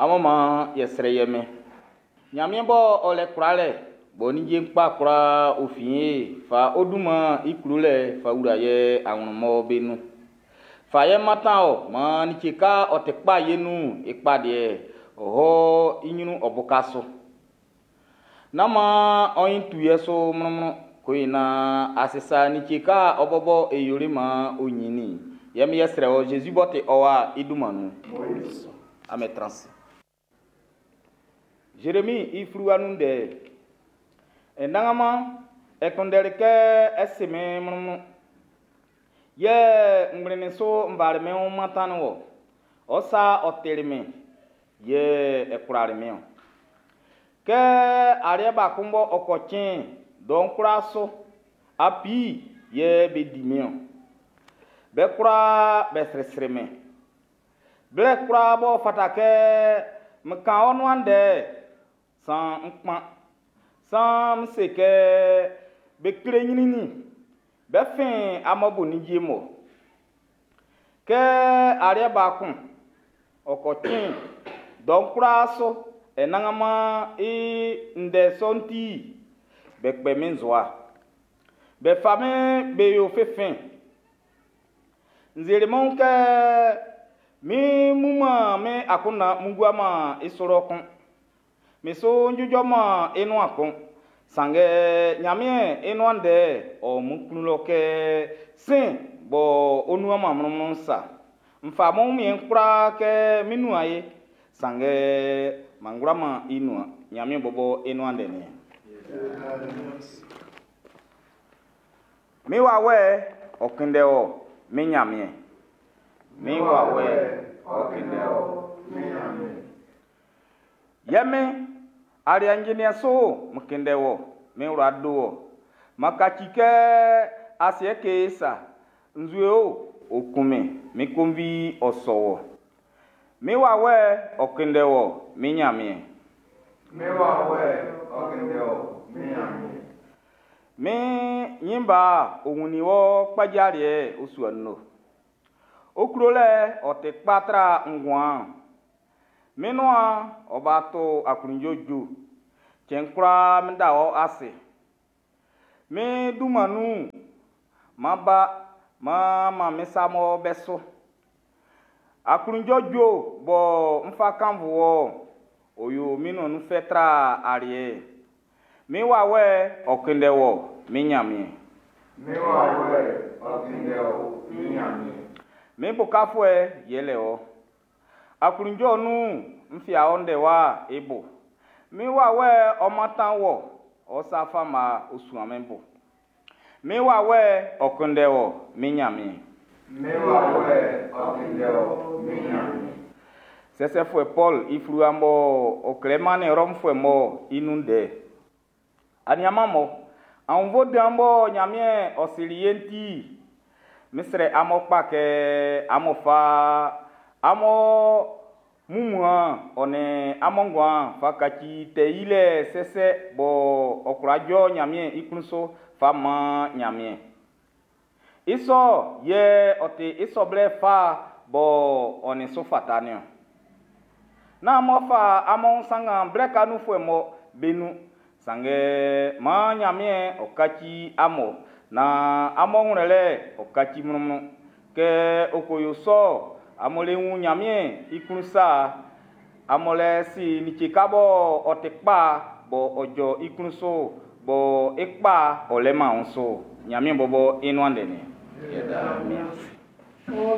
Amun man yɛ srɛ yɛ mɛn. Nyanmiɛn bɔ ɔ lɛ kwlalɛ, bɔ ninnge'n kpa kwlaa ɔ fin e, fa ɔ dunman i klolɛ fa wla ye anwlɛn mɔ be nun. Fa ye mantan ɔ, man like ka ɔ ti kpa ye nun i kpa deɛ, ɔ hɔ i nyrun ɔ buka su. Nán man ɔ nyin tu ye su mlɔnmlɔn, ko yi nan a sisa like ka ɔ bɔbɔ e yoli man ɔ nyinnin. Yɛ mi yɛ srɛ wɔ Jésus b'ɔ ti ɔ wa i dunman nun. Amen trans. Jérémie i fluwa nun ndɛ. Anannganman, e kunndɛli kɛ e ʼsi min mlɔnmlɔn. Yɛ n kplinnin su n fali mín wun mantannin wɔ. Ɔ́ sa ɔ tili min, yɛ ɛ kwlali min-ɔn. Kɛ aliɛ ba kun bɔ ɔ kɔ cɛn'n, dɔ'n kwlaa su, apii yɛ be di min-ɔn. Be kwlaa be srisri min. Blɛ kwlaa b'ɔ fata kɛ n kan ɔ́ nuan ndɛ'n, san n kpan. San n se kɛ be kle nyrɛnnɛn, be fin amún bo ninnge mun. Kɛ aliɛ ba kun ɔ kɔ cɛn'n, dɔ'n kwlaa su, Anannganman i ndɛ sɔ'n ti, be kpɛ min nzowa. Be fa min be yo finfin. N seli min wun kɛ min bu-man min akunndan mun gua-man i su lɔ kun. Min su jujɔ-man i nuan kun. Sanngɛ Nyanmiɛn i nuan ndɛ'n ɔ o min klun lɔ kɛ sin b'ɔ ɔ nuan-man mlɔnmlɔn'n sa. N fa min wunmiɛn'n kwlaa kɛ min nuan ye, sanngɛ m'an kwla-man i nuan. Nyanmiɛn bɔbɔ i nuan ndɛ nin. Min wawɛ'n ɔ kunndɛ wɔ, min Nyanmiɛn. Min wawɛ'n ɔ kunndɛ wɔ, min Nyanmiɛn. Yɛ min, aliɛ njɛnniɛn su n kunndɛ wɔ, min wla do wɔ. M'an kaci kɛ asiɛ kee sa, nzue o, ɔ kun min, min konvi ɔ sɔ wɔ. Min wawɛ'n ɔ kunndɛ wɔ, min Nyanmiɛn. Min wawɛ'n ɔ kunndɛ wɔ, min Nyanmiɛn. Min nyinba ɔ wunnin wɔ kpajaliɛ'n ɔ sua nun. Ɔ klolɛ'n ɔ ti kpa tra nguan'n. Min nuan ɔ ba to aklunjuɛ ju. Cɛn kwlaa min da wɔ ase. Min dunman nun, m'an ba, m'an man min sa mɔ bɛ su. Aklunjuɛ ju bɔ n fa kannvun wɔ, ɔ yo min nuan nun fɛ tra aliɛ. Min wawɛ'n ɔ kunndɛ wɔ, min Nyanmiɛn. Min wawɛ'n ɔ kunndɛ wɔ, min Nyanmiɛn. Min bukafuɛ yɛlɛ wɔ. Aklunjuɛ nun n fia ɔ ndɛwa i bo. Min wawɛ'n ɔ mantan wɔ, ɔ sa fama ɔ suan min bo. Min wawɛ'n ɔ kunndɛ wɔ, min Nyanmiɛn. Min wawɛ'n ɔ kunndɛ wɔ, min Nyanmiɛn. Sɛsɛfuɛ Paul i fluwa bɔ ɔ klɛ mannin Rɔmfuɛ mɔ i nun ndɛ. Aniaman mɔ, aunnvuɛ dan bɔ Nyanmiɛn ɔ sili ye'n ti, mi srɛ amun kpa kɛ amun fa amun mumuan ɔ nin amun nguan fa kaci tɛ yilɛ sɛsɛ bɔ ɔ kwla jɔ Nyanmiɛn i klun su fa man Nyanmiɛn. I sɔ yɛ ɔ ti i sɔ blɛ fa bɔ ɔ nin su fata niɔn. Nán amun fa amun sanngan blɛ ka nunfuɛ mɔ be nun, sanngɛ maan Nyanmiɛn ɔ kaci amun naan amun ngwlɛlɛ'n ɔ kaci mlɔnmlɔn. Kɛ ɔ ko yo sɔ, amun le wun Nyanmiɛn i klun sa, amun le si like ka bɔ ɔ ti kpa bɔ ɔ jɔ i klun su, bɔ i kpa ɔ lɛ man wun su. Nyanmiɛn bɔbɔ i nuan ndɛ nin.